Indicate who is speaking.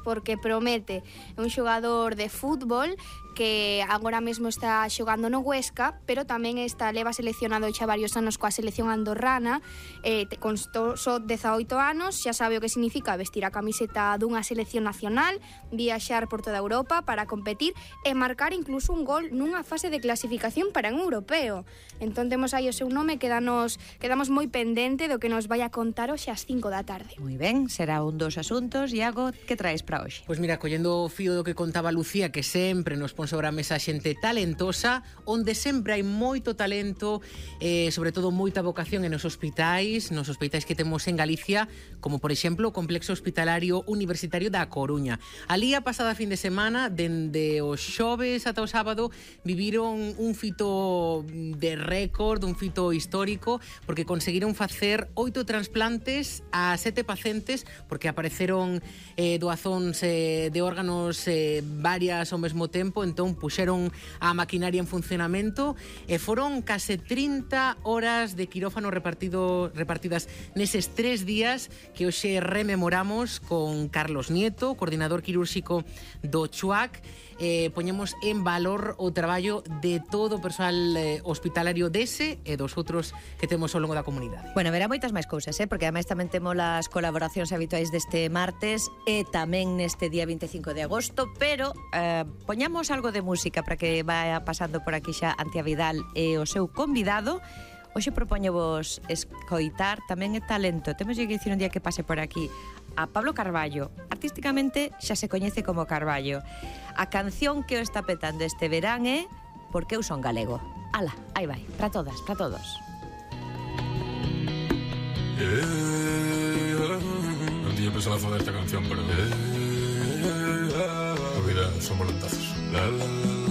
Speaker 1: porque promete un xogador de fútbol que agora mesmo está xogando no Huesca, pero tamén leva seleccionado xa varios anos coa selección andorrana, con só 18 anos, xa sabe o que significa vestir a camiseta dunha selección nacional, viaxar por toda Europa para competir e marcar incluso un gol nunha fase de clasificación para un europeo. Entón temos aí o seu nome, quedamos moi pendente do que nos vai a contar hoxe ás 5 da tarde.
Speaker 2: Moi ben, será un dos asuntos. Iago, que traes para hoxe?
Speaker 3: Pois mira, collendo o fío do que contaba Lucía, que sempre nos pon sobre a mesa xente talentosa, onde sempre hai moito talento, sobre todo moita vocación nos hospitais que temos en Galicia, como por exemplo o Complexo Hospitalario Universitario da Coruña. Ali a pasada fin de semana, dende o xoves ata o sábado, viviron un fito de récord, un fito histórico, porque conseguiron facer 8 transplantes a 7 pacientes, porque apareceron doazóns de órganos varias ao mesmo tempo, entón puxeron a maquinaria en funcionamento e foron case 30 horas de quirófano repartidas neses 3 días que hoxe rememoramos con Carlos Nieto, coordinador quirúrxico do CHUAC. Poñemos en valor o traballo de todo o persoal hospitalario dese e dos outros que temos ao longo da comunidade.
Speaker 2: Bueno, verá moitas máis cousas, porque ademais tamén temos as colaboracións habituais deste martes e tamén neste día 25 de agosto, pero poñamos algo de música para que vaya pasando por aquí xa Antia Vidal e o seu convidado. Hoxe propoñevos escoitar tamén é talento. Temos que dicir un día que pase por aquí a Pablo Carballo. Artísticamente xa se coñece como Carballo. A canción que o está petando este verán é Porque eu son galego. Ala, aí vai, para todas, para todos.
Speaker 4: Un día pensaba facer esta canción, pero... Olvida, son voluntazos. La, la, la.